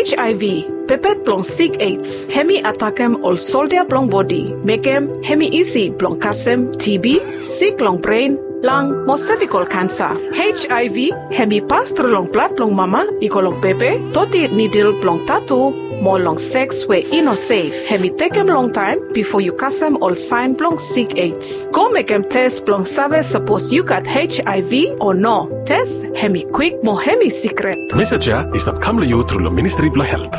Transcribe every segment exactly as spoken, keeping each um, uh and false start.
H I V, pepet blong sik AIDS, hemi atakem ol soldia blong bodi, mekem hemi isi blong kasem T B, sik long bren, lang mo sevikol kansa. H I V hemi pas tru long blad blong mama i go long pepe, doti nidil blong tatu, mo long seks we i no sef. Hemi tekem longtaem bifo yu kasem ol saen blong sik AIDS. Go mekem tes blong save sapos yu gat H I V o no. Tes hemi kwik mo hemi sikret. Mesej ya i stap kam long yu tru long Ministri blong Helt.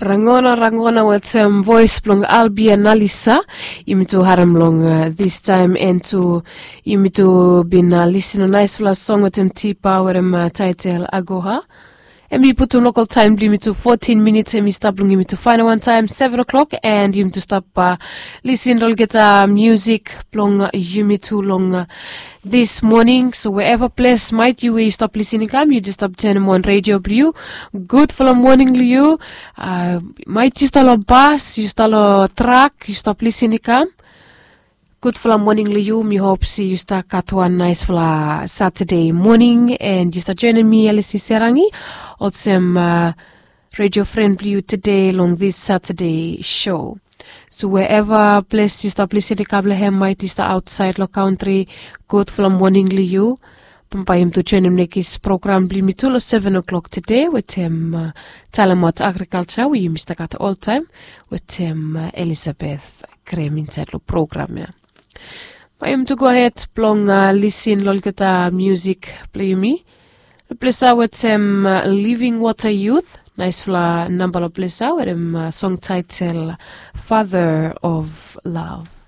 Rangona rangona wetem voes blong Albia Nalisa. Yumi tu harem long distaem, and tu yumi tu bin lisin long naesfala song wetem Tipa wetem taetel Agoha. Hemi putum lokal taem blong yumi tu fotin minits, hemi stap long yumi tu faenol wantaem seven o'clock, and yumi tu stap lisin long olgeta musik blong yumi tu long this morning. So wherever ples maet yu we yu stap lisin i kam, yu jes stap joenem wan redio blong yu. Gudfala moning long yu. Maet yu stap long bas, yu stap long trak, yu stap lisin i kam, gudfala moning long yu. Mi hop se yu stap gat wan naesfala Satade moning, and yu stap joenem mi, Elisi Serangi, olsem redio fren blong yu tede long this Satade show. So wherever ples yu stap lisin i kam long hem, maet yu stap aotsaed long kantri, gudfala moning long yu. Bambae yumi tu joenem nekis program blong yumi tu long seven o'clock tede wetem talemaot agrikalja we yumi stap gat oltaem wetem Elizabeth Grem insaed long program ya. Bae yumi tu gohed blong lisin long olgeta musik blong yumi. Long ples ya wetem Living Water Youth, naesfala namba long ples ya wetem song taetel Father of Love.